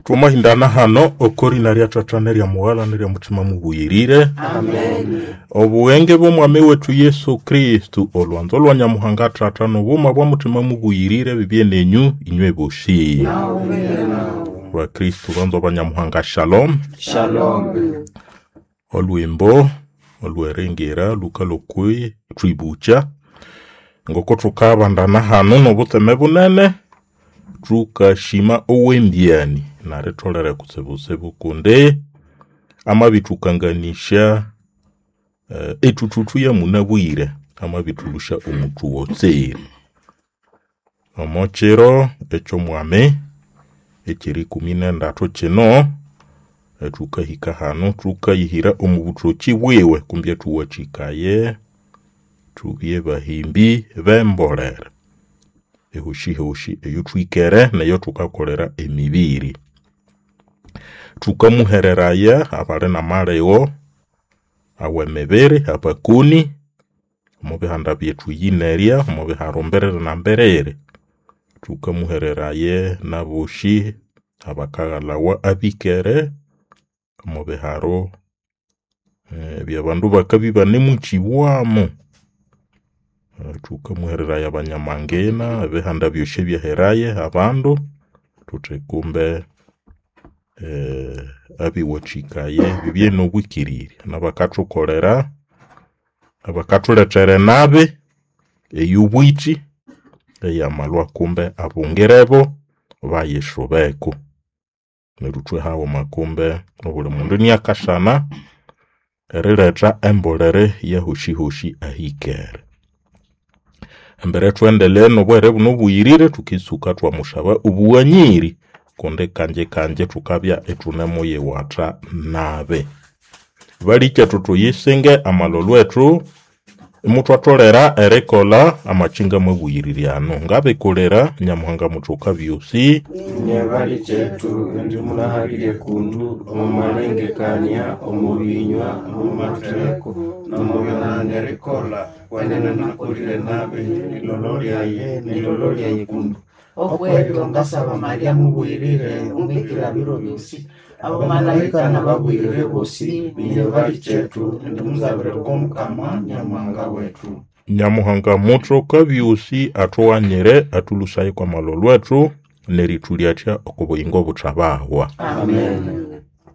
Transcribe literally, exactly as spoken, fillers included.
Twamahindana hano okorina rya Tata nerya Mughala nerya Mutima mubuyirire. Amen. Obughenge bw'Omwami wetu Yesu Kristu, olwanzo lwa Nyamuhanga Tata n'obuma bwa Mutima mubuyirire bibye nenyu inywe bosi. Nawe nawe. Bakristu banzo ba Nyamuhanga shalom. Shalom. Olwimbo olweringira lukalokwi twibucha ngoko thukabandana hano n'obutseme bunene thukashima owembyani naritholere kutsibutsibu kundi amabithukanganisya eh, ethuthuthu yamunabwire amabithulusya omuthu wotseri. Omo kiro eky'omwami eky'erikumi n'endathu kino thukahika hano thukayihira omu buthoki bwiwe kumbi ethuwathikaye thubye bahimbi b'embolere ehoshihoshi eyothwikere neyo thukakolera emibiri. Thukamuhereraya abali n'amalegho aw'emibiri abakoni omu bihanda byethu yinerya omu biharo mbiriri na mbiriri. Thukamuhereraye n'aboshi abakaghalawa abikere omu biharo ebyabandu bakabya ibanemukyibwamu. Thukamuhereraya abanyamangina ebihanda byosi ebyaheraye abandu thuthi kumbe abiwathikaye bibye n'obwikirirya n'abakathukolera abakathulethera enabi ey'obwithi eyamalhwa kumbe abungirebo bayisubeko. Neryo ithwe haghuma kumbe obuli mundu iniakasana eriletha embolere yahoshihoshi ahikere. Embere thuendeleye n'obuhere buno obuyirire thukitsuka thwamusaba obughanyiri kundi kangye kangye thukabya ithunemuyiwatha nabi. Balikethu thuyisinge amalholho ethu imuthwatholera erikolha amakinga amabuyirire anu. Ngabikulira Nyamuhanga muthoka byosi. Inye balikethu indi munahabirye kundu omu malengekania, omu binywa, omu matheko, n'omu byonani erikolha, wenene nakolire nabi, nilolo lyaye, nilolo lyaye kundu. Okwebyo ngasaba Maria mubwirire omwikira biro byosi abamalaika n'ababwirire bosi Inye balikethu indi muzabire kw'Omukama Nyamuhanga wetu. Nyamuhanga muthoka byosi athughanyire athulhusaye kw'amalholho ethu nerithulyatya oko buyingo obuthabahwa. Amen.